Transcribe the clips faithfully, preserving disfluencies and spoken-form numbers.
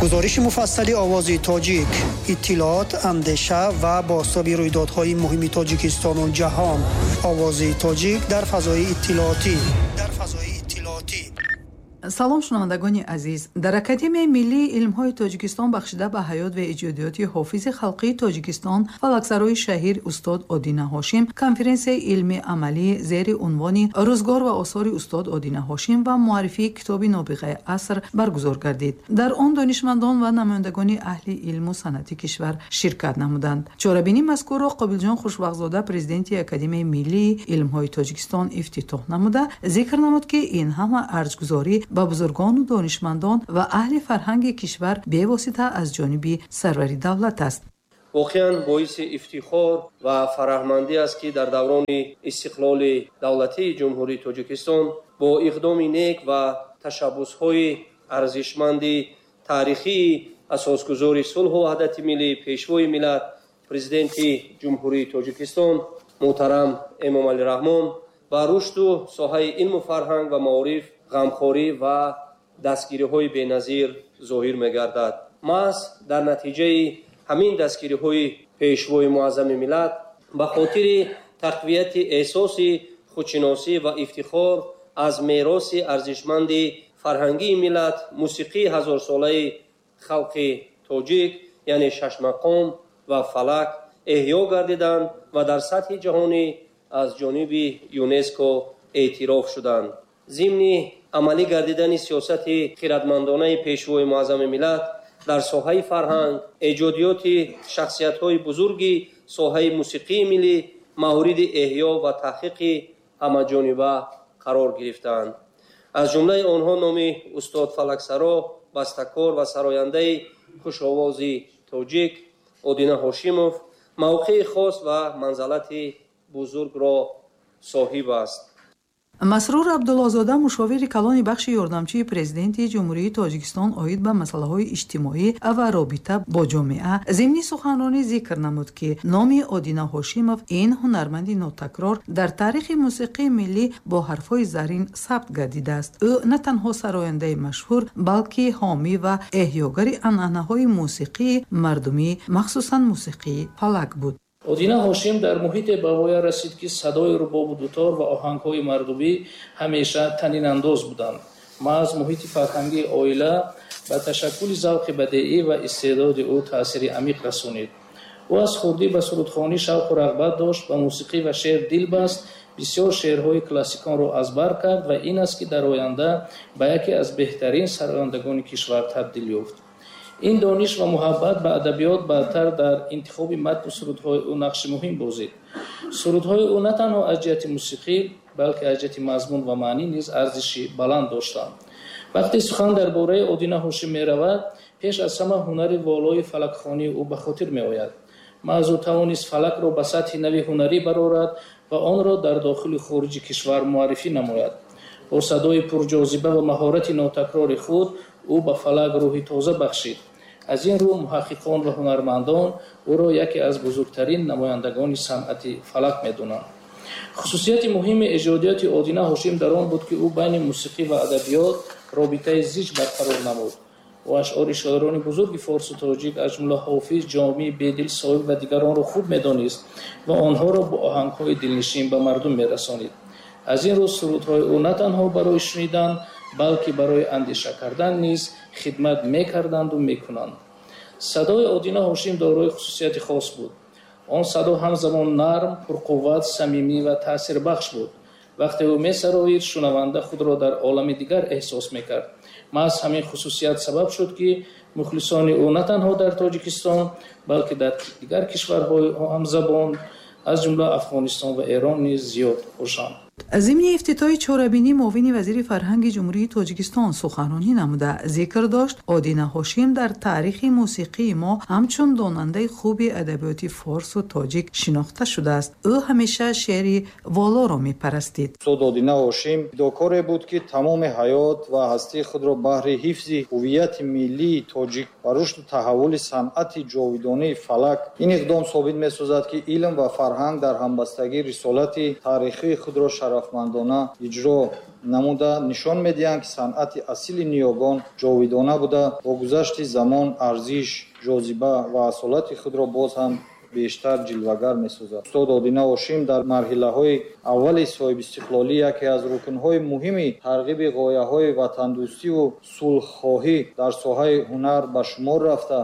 Гузориши муфассали Овози Тоҷик, иттилоот, андеша ва бозтоби рӯйдодҳои муҳими Тоҷикистону ҷаҳон. Овози Тоҷик дар фазои иттилоотӣ. Дар фазои иттилоотӣ. Салом, шунавандагони азиз. Дар Академияи миллии илмҳои Тоҷикистон бахшида ба ҳаёт ва эҷодиёти ҳофизи халқии Тоҷикистон, фалаксарои шаҳир устод Одина Ҳошим конференсияи илмии амалӣ зери унвони «Рӯзгор ва осори устод Одина Ҳошим ва муаррифии китоби нобиғаи аср» баргузор гардид. Дар он донишмандон ва намояндагони аҳли илму санъати кишвар ширкат намуданд. Чорабинии мазкурро Қобилҷон Хушбахтзода, президенти Академияи миллии илмҳои Тоҷикистон, ифтитоҳ намуда, зикр намуд, ки ин ҳама арҷгузорӣ ба бузургону донишмандон ва аҳли фарҳанги кишвар бевосита аз ҷониби сарвари давлат аст. Воқеан, боиси ифтихор ва фараҳмандӣ аст, ки дар даврони истиқлоли давлатии Ҷумҳурии Тоҷикистон бо иқдоми нек ва ташаббусҳои арзишманди таърихии асосгузори сулҳу ваҳдати миллӣ, Пешвои миллат, Президенти Ҷумҳурии Тоҷикистон муҳтарам Эмомалӣ Раҳмон ба рушду соҳаи илму фарҳанг ва маориф ғамхорӣ ва дастгириҳои беназир зоҳир мегардад. Маҳз дар натиҷаи ҳамин дастгириҳои Пешвои муаззами миллат ба хотири тақвияти эҳсоси худшиносӣ ва ифтихор аз мероси арзишманди фарҳангии миллат, мусиқии ҳазорсолаи халқи тоҷик, яъне шашмақом ва фалак, эҳё гардиданд ва дар сатҳи ҷаҳонӣ аз ҷониби ЮНЕСКО эътироф шуданд. Зимни амалӣ гардидани сиёсати хирадмандонаи Пешвои муаззами миллат дар соҳаи фарҳанг, эҷодиёти шахсиятҳои бузурги соҳаи мусиқии миллӣ мавриди эҳё ва таҳқиқи ҳамаҷониба қарор гирифтаанд. Аз ҷумлаи онҳо номи устод фалаксаро, бастакор ва сарояндаи хушовози тоҷик Одина Ҳошимов мавқеи хос ва манзалати бузургро соҳиб аст. Масрур Абдуллозода, мушовири калони бахши ёрдамчии Президенти Ҷумҳурии Тоҷикистон оид ба масъалаҳои иҷтимоӣ ва робита бо ҷомеа, зимни суханронӣ зикр намуд, ки номи Одина Ҳошимов, ин ҳунарманди нотакрор, дар таърихи мусиқии миллӣ бо ҳарфҳои зарин сабт гардидааст. Ӯ на танҳо сарояндаи машҳур, балки ҳомӣ ва эҳёгари анъанаҳои мусиқии мардумӣ, махсусан мусиқии фалак буд. Одина Ҳошим дар муҳите ба воя расид, ки садои рубобу дутор ва оҳангҳои мардумӣ ҳамеша танинандоз буданд. Маҳз муҳити фарҳангии оила ба ташаккули завқи бадеӣ ва истеъдоди ӯ таъсири амиқ расонид. Ӯ аз хурдӣ ба сурудхонӣ шавқу рағбат дошт, ба мусиқӣ ва шеър дил баст, бисёр шеърҳои классиконро аз бар кард ва ин аст, ки дар оянда ба яке аз беҳтарин сарояндагони кишвар табдил ёфт. Ин дониш ва муҳаббат ба адабиёт баъдтар дар интихоби матну сурудҳои ӯ нақши муҳим бозид. Сурудҳои ӯ на танҳо аз ҷиҳати мусиқӣ, балки аз ҷиҳати мазмун ва маънӣ низ арзиши баланд доштанд. Вақте сухан дар бораи Одина Ҳошим меравад, пеш аз ҳама ҳунари волои фалакхонии ӯ ба хотир меояд. Маҳз ӯ тавонист фалакро ба сатҳи нави ҳунарӣ барорад ва онро дар дохили хориҷи кишвар муаррифӣ намояд. Бо садои пурҷозиба ва маҳорати нотакрори худ ӯ ба фалак рӯҳи тоза бахшид. Аз ин рӯ муҳаққиқон ва ҳунармандон ӯро яке аз бузургтарин намояндагони санъати фалак медонанд. Хусусияти муҳими эҷодиёти Одина Ҳошим дар он буд, ки ӯ байни мусиқӣ ва адабиёт робитаи зич барқарор намуд. Ӯ ашъори шоирони бузурги форсу тоҷик, аз ҷумла Ҳофиз, Ҷомӣ, Бедил, Соҳиб ва дигаронро хуб медонист ва онҳоро бо оҳангҳои дилнишин ба мардум мерасонид. Аз ин рӯ сурудҳои ӯ на танҳо барои шунидан, балки барои андеша кардан низ хидмат мекарданду мекунанд. Садои Одина Ҳошим дорои хусусияти хос буд. Он садо ҳамзамон нарм, пурқувват, самимӣ ва таъсирбахш буд. Вақте ӯ месароид, шунаванда худро дар олами дигар эҳсос мекард. Маҳз ҳамин хусусият сабаб шуд, ки мухлисони ӯ на танҳо дар Тоҷикистон, балки дар дигар кишварҳои ҳамзабон, аз ҷумла Афғонистон ва Эрон низ зиёд бошанд. Зимни ифтитоҳи чорабинӣ муовини вазири фарҳанги Ҷумҳурии Тоҷикистон суханронӣ намуда, зикр дошт, Одина Ҳошим дар таърихи мусиқии мо ҳамчун донандаи хуби адабиёти форсу тоҷик шинохта шудааст. Ӯ ҳамеша шеъри волоро мепарастид. Устод Одина Ҳошим фидокоре буд, ки тамоми ҳаёт ва ҳастии худро баҳри ҳифзи ҳуввияти миллии тоҷик ва рушду таҳаввули санъати ҷовидонии фалак. Ин иқдом собит месозад, ки илм ва фарҳанг дар ҳамбастагӣ рисолати таърихии худро Шарафмандона иҷро намуда нишон медиҳанд, ки санъати асили ниёгон ҷовидона буда, бо гузашти замон арзиш, ҷозиба ва асолати худро боз ҳам бештар ҷилвагар месозад. Устод Одина Ҳошим дар марҳилаҳои аввали соҳибистиқлолӣ яке аз рукнҳои муҳими тарғиби ғояҳои ватандӯстиву сулҳхоҳӣ дар соҳаи ҳунар ба шумор рафта,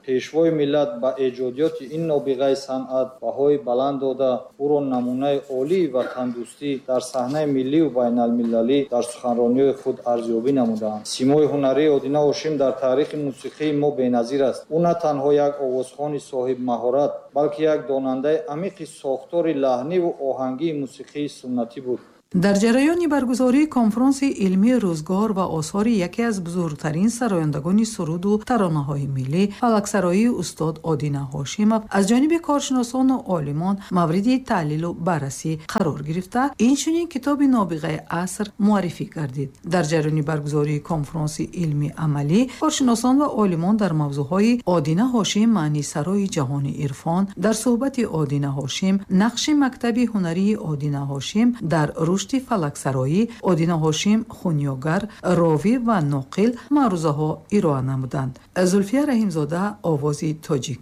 Пешвои миллат ба эҷодиёти ин нобиғаи санъат баҳои баланд дода, ӯро намунаи олии ватандӯстӣ дар саҳнаи миллию байналмилалӣ дар суханрониҳои худ арзёбӣ намудаанд. Симои ҳунарии Одина Ҳошим дар таърихи мусиқии мо беназир аст. Ӯ на танҳо як овозхони соҳибмаҳорат, балки як донандаи амиқи сохтори лаҳниву оҳангии мусиқии суннатӣ буд. Дар ҷараёни баргузории конфронси илмии рӯзгор ва осори яке аз бузургтарин сарояндагони суруду таронаҳои миллӣ, фалаксароии устод Одина Ҳошимов аз ҷониби коршиносону олимон мавриди таҳлилу баррасӣ қарор гирифта, инчунин китоби нобиғаи аср муаррифӣ гардид. Дар ҷараёни баргузории конфронси илми амалӣ коршиносон ва олимон дар мавзӯъҳои Одина Ҳошим маънисарои ҷаҳони ирфон, дар суҳбати Одина Ҳошим, нақши мактаби ҳунарии Одина Ҳошим дар рушди фалаксароӣ, Одина Ҳошим хунёгар, ровӣ ва ноқил маърузаҳо ироа намуданд. Зулфия Раҳимзода, Овози Тоҷик.